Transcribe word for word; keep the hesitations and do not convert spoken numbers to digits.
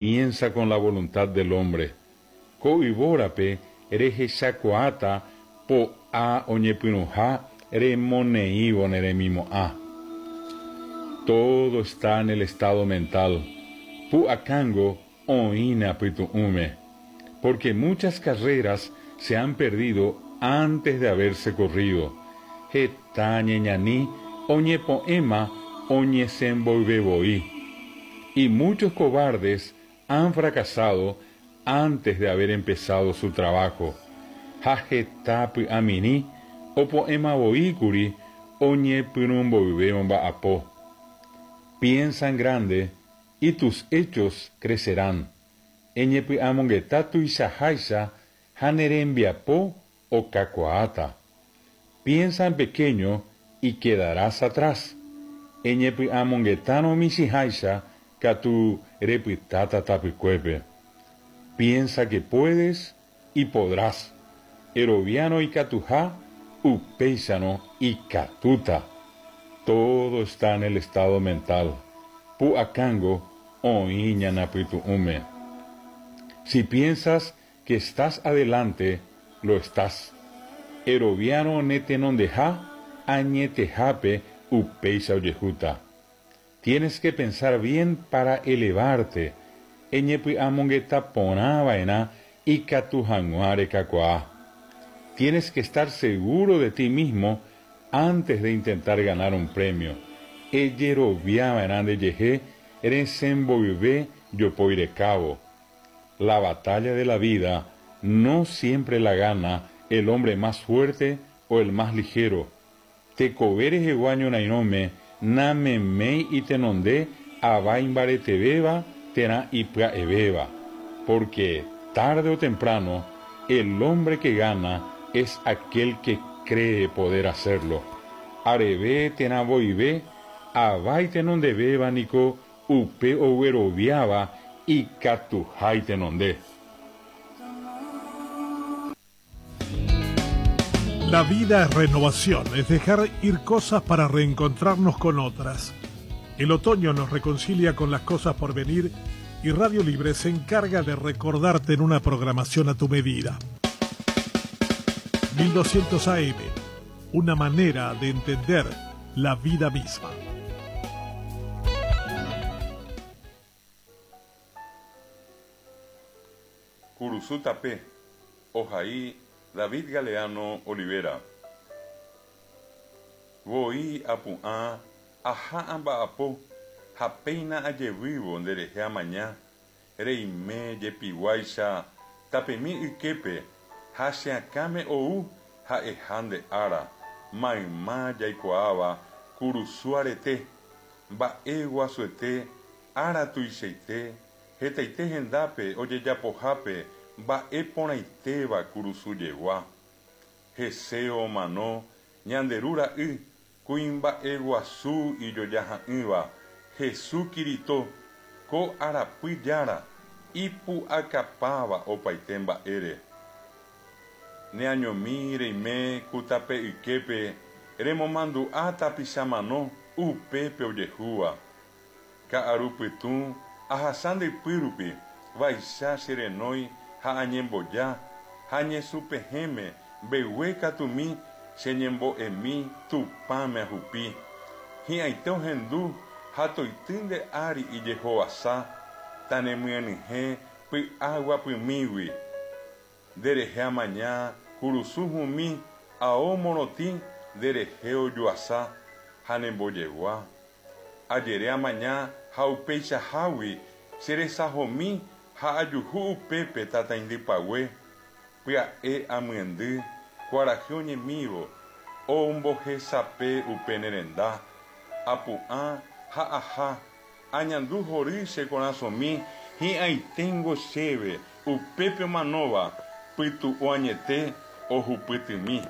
Comienza con la voluntad del hombre. Ko yvórape rehechakuaáta po'a oñepyrũha remoneívo ne remimo'ã. Todo está en el estado mental. Pu'akángo oĩ ne apytu'ũme. Porque muchas carreras se han perdido antes de haberse corrido. Heta ñeñani oñepo'ẽma oñesẽ mboyve voi. Y muchos cobardes han fracasado antes de haber empezado su trabajo. Ha heta py'amirĩ opo'ẽmavoíkuri oñepyrũ mboyve omba'apo. Piensa en grande y tus hechos crecerán. Eñepy'amongeta tuichaháicha ha ne rembiapo okakuaáta. Piensa en pequeño y quedarás atrás. Eñepy'amongetárõ michĩháicha katu repytáta tapykuépe. Piensa que puedes y podrás. Eroviárõ ikatuha, upéicharõ ikatúta. Todo está en el estado mental. Pu'akángo oĩ ñane apytu'ũme. Si piensas que estás adelante, lo estás. Eroviárõ ne tenondeha, añetehápe upéicha ojehúta. Tienes que pensar bien para elevarte. Eñepy'amongeta porã va'erã ikatu hag̃ua rekakuaa. Tienes que estar seguro de ti mismo antes de intentar ganar un premio. Ejeroviava'erã ndejehe resẽ mboyve jopói rekávo. La batalla de la vida no siempre la gana el hombre más fuerte o el más ligero. Tekove rehegua ñorairõme nameméi itenonde ava imbaretevéva térã ipya'evéva. Porque tarde o temprano el hombre que gana es aquel que cree poder hacerlo. Areve térã voive ava itenondevéva niko upe ogueroviáva ikatuha itenonde. La vida es renovación, es dejar ir cosas para reencontrarnos con otras. El otoño nos reconcilia con las cosas por venir y Radio Libre se encarga de recordarte en una programación a tu medida. mil doscientos A M, una manera de entender la vida misma. Kurusu tape, ohai David Galeano Olivera. Voi apu'ã aha amba'apo ha péina ajevývo nderehe amaña, reime jepiguáicha tapemi yképe ha che akãme ou ha'eha nde ára, mayma jaikuaáva kurusu arete, mba'e guasuete, ára tuichaite, hetaite hendápe ojejapohápe mba'e porãitéva kurusu jegua. Hese omano Ñande Ru Ra'y, kuimba'e guasu ijojaha'ỹva, Hesu Kirito, ko arapy jára, ipu'akapáva opaite mba'ére. Neañomi reime ku tape yképe remomandu'a tapicha mano upépe ojehúva. Ka'aru pytũ ahasa nde ypýrupi, vaicha che renói ha añemboja, ha ñesũpehẽme mbegue katumi che ñembo'emi Tupãme ahupi. Hi'ãite ohendu ha toity nde ári ijehovasa, tanemyenyhẽ py'aguapymígui. Nderehe amaña kurusu hũmi ao morotĩ nderehe ojuasa ha nembojegua. Ajere amaña ha upeichahágui cheresahomi ha ajuhu upépe tataindypague, pya'e amyendy kuarahy oñemívo ombohesape upe ne renda. Apu'ã ha aha, añandu hory che korasõmi hi'ãiténgo chéve upépe omanóva pytu'u añete ohupytymi.